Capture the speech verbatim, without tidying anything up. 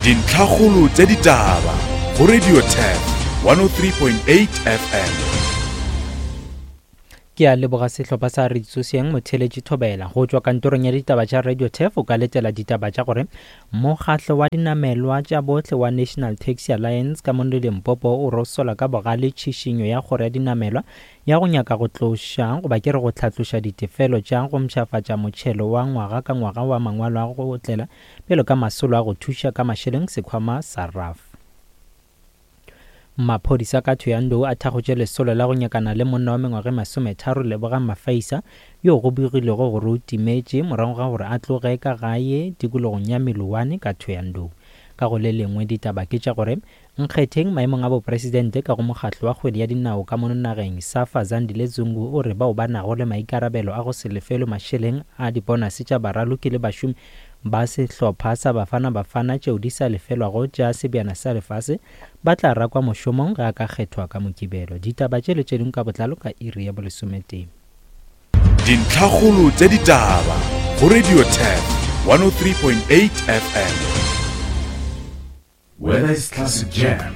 Dintlhakgolo tša ditaba go Radio Turf one oh three point eight F M. Ke a leboga sehlopha sa Ritsoseng Motheletši Thobela. Go tšwa kantorong ya ditaba tša Radio Turf o ka letela ditaba tša gore mokgatlo wa dinamelwa tša bohle wa National Taxi Alliance ka mono Limpopo o rosola ka bogale tšhišinyo ya kgoro ya dinamelwa ya go nyaka go tloša goba ke re go hlatloša ditefelo tša go mpshafatša motšhelo wa ngwaga ka ngwaga wa mangwalo a go otlela bjalo ka masolo a go thuša ka mašeleng sekhwama sa R A F. Maphodisa ka Thohoyandou a thakgotše lesolo la go nyakana le monna wa mengwaga e masometharo Lebogang Mafaisa yo go begilwego gore o timetše morago ga gore a tloge ka gae tikologong ya Meloane ka Thohoyandou. Ka go le lengwe ditaba ke tša gore nkgetheng maemong a bopresidente ka go mokgatlo wa kgwedi ya dinao ka mono nageng Safa Zandile Zungu o re bao ba nago le maikarabelo a go se lefelwe mašeleng a dibonase tša baraloki le bašomi ba sehlopha sa Bafana Bafana tšeo di sa lefelwago tša sebjana sa lefase ba tla rakwa mošomong ge a ka kgethwa ka Mokibelo. Ditaba tše le tše dingwe ka botlalo ka iri ya bolesometee. Dintlhakgolo tša ditaba go Radio Turf one oh three point eight F M. Whether it's classic jams,